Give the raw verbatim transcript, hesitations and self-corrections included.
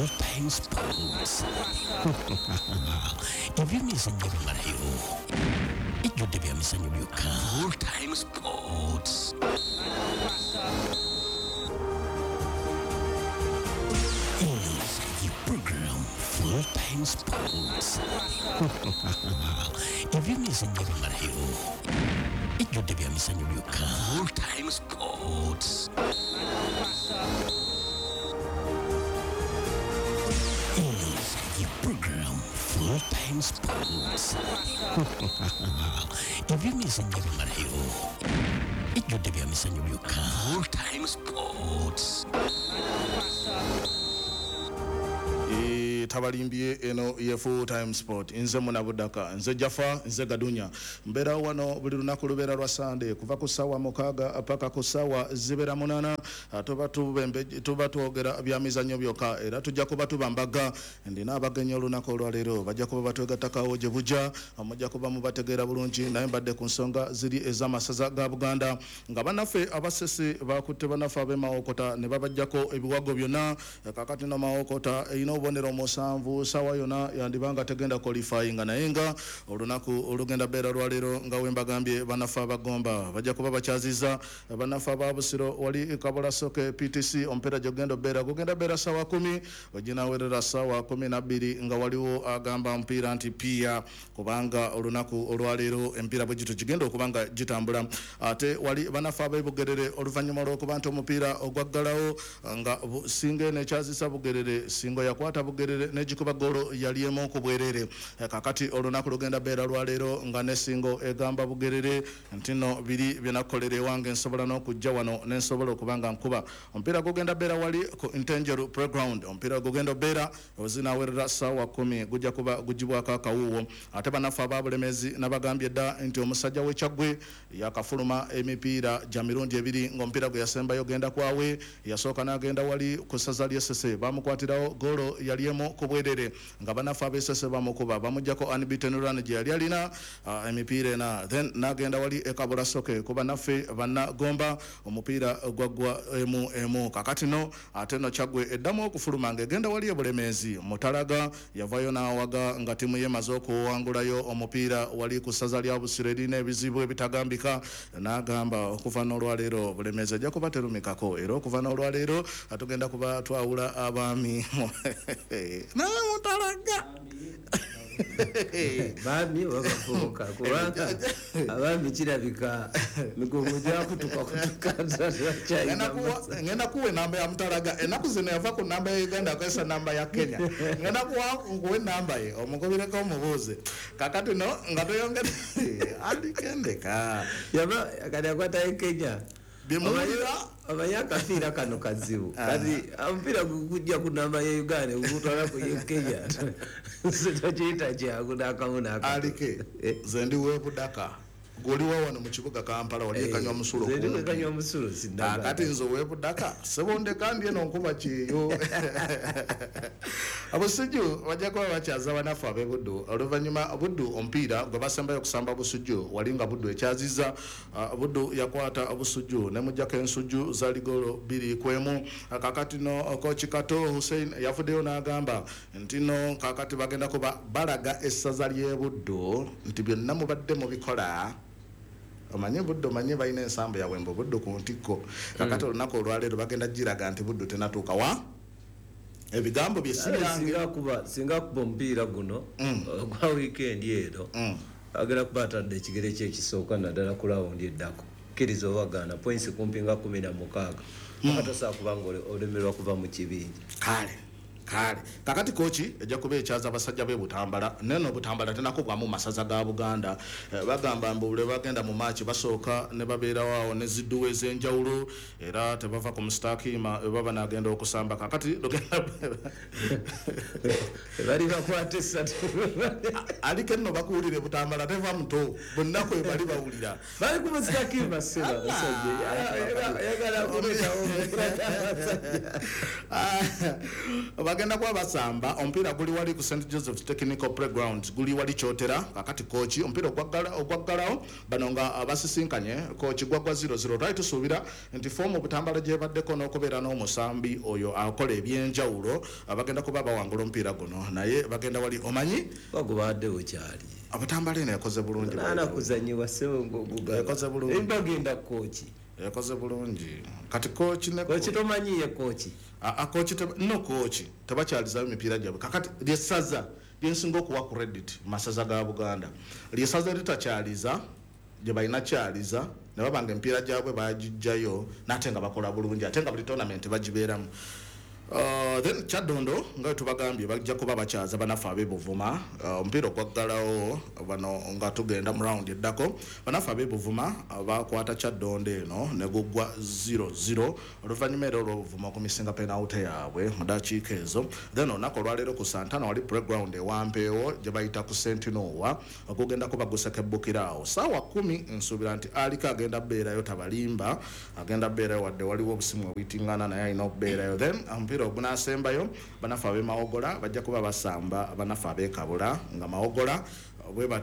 Full Time Sports. Ebyemizannyo bimalayo, ejjudde bya mizannyo byokka. Full Time Sports. Eno ye program Full Time Sports. Ebyemizannyo bimalayo, ejjudde bya mizannyo byokka. Full Time Sports. Program Full Time Sports. Ebyemizannyo bimalayo, ejjudde bya mizannyo byokka. Full Time Sports. Tabalimbye eno ye Full Time Sport. Nze Munabudaka, nze Jafa, nze Gadunya. Mbeera wano buli lunaku lubeera lwa Sande kuva ku ssaawa mukaaga paka ku ssaawa zibeera munaana. Tuba tubembe tuba twogera bya mizannyo byokka, era tujja kuba tubambaga. Ndina abagenyi olunaku olwaleero bajja kuba batwegattakawo gye bujja, mujja kuba mubategeera bulungi. Naye mbadde ku nsonga ziri ez'amasaza ga Buganda nga bannaffe abasese bakutte bannaffe ab'e Mawokota ne babaggyako ebiwago byonna. Kaakati no Mawokota erina obubonero musanvu, sawa yona yandibanga tegenda qualifying, naye nga olunaku olugenda beera lwaleero nga wembagambye bannaffe abagomba bajja kuba bakyaziza bannaffe aba Busiro wali Kabola Soke P T C. Omupiira gyogenda obeera gugenda beera sawa kumi oginawerera sawa kumi na bbiri nga waliwo agamba omupiira nti pia, kubanga olunaku olwaleero empiira bwe gityo gigenda okuba nga gitambula. Ate wali bannaffe ab'e Bugerere oluvannyuma lw'okuba nti omupiira ogwaggalawo nga Singa eno ekyazisa Bugerere, Singo yakwata Bugerere n'egikuba ggoolo yali emu ku bwerere. Kakati olunaku lugenda beera lwaleero nga ne Singo egamba Bugerere nti no biri bye nakukolera ewange nsobola n'okujja wano ne nsobola okuba nga nkuba. Omupiira gugenda beera wali ku Ntenjeru Playground. Omupiira gugenda obeera ozinaawerera ssaawa kumi, gujja kuba gugibwako akawuuwo. Ate bannaffe aba Bulemezi nabagambye dda nti omusajja w'e Kyaggwe yakafuluma emipiira gya mirundi ebiri ng'omupiira gwe yasembayo genda kwawe, yasooka n'agenda wali ku ssaza ly'e Ssese bamukwatirawo ggoolo yali emu ku bwerere nga bannaffe ab'e Ssese bamukuba bamuggyako unbeaten run gye yali alina uh, emipiira ena, then n'agenda wali e Kabula Soke ku bannaffe bannagomba omupiira gwaggwa emu emu. Kakati no ate no Kyaggwe eddamu okufuluma ng'egenda wali e Bulemeezi. Mutalaga yavayo n'awaga nga ttiimu ye emaze okuwangulayo omupiira wali ku ssaza lya Busiro erina ebizibu ebitagambika, n'agamba okuva n'olwaleero Bulemeezi ejja kuba terumikako, era okuva n'olwaleero tugenda kuba twawula abaami naye Mutalaga baami babafuuka kubanga abaami kirabika migongo gyakutuka kutuka. Ngenda kuwa enamba ya Mutalaga ennaku zino yava ku namba ya Uganda akozesa namba ya Kenya. Ngenda kuwa nkuwa enamba ye omugobireko omubuuze. Kakati no nga toyongere andikendeka yaba kati akwata e Kenya bimuwulira omanyi akapiira kano kazibu kati omupiira gujja ku namba ya Uganda gutwala ku ye Kenya tokiyita kyangu n'akamu n'akamu. Alike nze ndi w'e Budaka, gw'oliwa wano mu kibuga Kampala wali ekanywa musulo. Nze ndi wekanywa musulo sinnaga. Kakati nze ow'e Budaka sebondeka ndi eno nkuba kyeyo. Abusujju bajja kuba bakyaza bannaffe ab'e Buddu oluvannyuma Buddu omupiira gwe basembayo okusamba Busujju wali nga Buddu ekyaziza. uh, Buddu yakwata Busujju ne muggyako ensujju zaali ggoolo bbiri ku emu. Kakati no Coach Kato Hussein yavuddeyo n'agamba nti no kakati bagenda kuba balaga essaza ly'e Buddu nti byonna mubadde mubikola. Omanye Buddu, omanye balina ensambu yaabwe mbu Buddu ku ntikko. Kakati olunaku olwaleero bagenda giraga nti Buddu tenatuuka wa ebigambo bye si byange. Singa akuba singa akuba omupiira guno ogwa wiikendi eno agenda kuba atadde ekigere kye ekisooka naddala ku rawundi eddako. Kkiriza obagaana points kumpi nga kumi na mukaaga akatosobola kuba nga olemerwa kuva mu kibinja. Kale kale kakati kochi ejja kuba ekyaza abasajja b'e Butambala neno Butambala tenakugwamu masaza ga Buganda. Eh, bagamba mbu bwe bagenda mu maaki basooka ne babeerawo awo ne zidduwa ez'enjawulo era tebava ku musitakiima bwe baba nagenda okusamba. Kakati lugenda bali bakwata essatu aliko nno bakuwulire Butambala teva muto bonna kwe bali bawulira bali ku musitakiima ssebo abasajja ayagala kuleetawo abasajja. Bagenda kuba basamba omupiira guli wali ku Saint Joseph's Technical Playground, guli wali Kyotera. Kakati Kooki omupiira ogwaggalawo bano nga basisinkanye Kooki gwaggwa zero zero. Twali tusuubira nti foomu Butambala gyebaddeko n'okubeera n'omusambi oyo akola ebyenjawulo bagenda kuba bawangula omupiira guno, naye bagenda wali omanyi bagubadde bukyali. Butambala eno yakoze bulungi, yakoze bulungi, bagenda Kooki yakoze bulungi. Kati Kooki ne Kooki tomanyiye Kooki a Kooki no Kooki tebakyalizayo emipiira gyabwe. Kakati lyesaza lyensinga okuwa credit masaza ga Buganda, lyesaza litakyaliza gye balina kyaliza ne babanga emipiira gyabwe bagijjayo nate nga bakola bulungi, ate nga buli tournament bagibeeramu. Uh, then Kyadondo nga tubagambye bajja kuba bakyaza banafe ab'e Buvuma. Omupiira uh, ogwaggalawo bano nga tugenda mu round eddako, banafe ab'e Buvuma uh, bakwata Kyadondo eno ne guggwa zero zero oluvannyuma era olw'Obuvuma okumisinga penalty yaabwe mu dakiika ezo. Then olunaku olwaleero ku Santana wali playground ewampeewo gye bayita ku Sentinowa ogugenda kuba gusekebbukira awo saawa kumi. Nsuubira nti aliko agenda bbeerayo, tabalimba, agenda bbeerayo wadde waliwo obusimu obuyitiŋŋana, naye alina okubeerayo. Then omupiira ogunaasembayo banafe ab'e Mawogola bajja kuba basamba banafe ab'e Kabula, nga Mawogola bwe bati.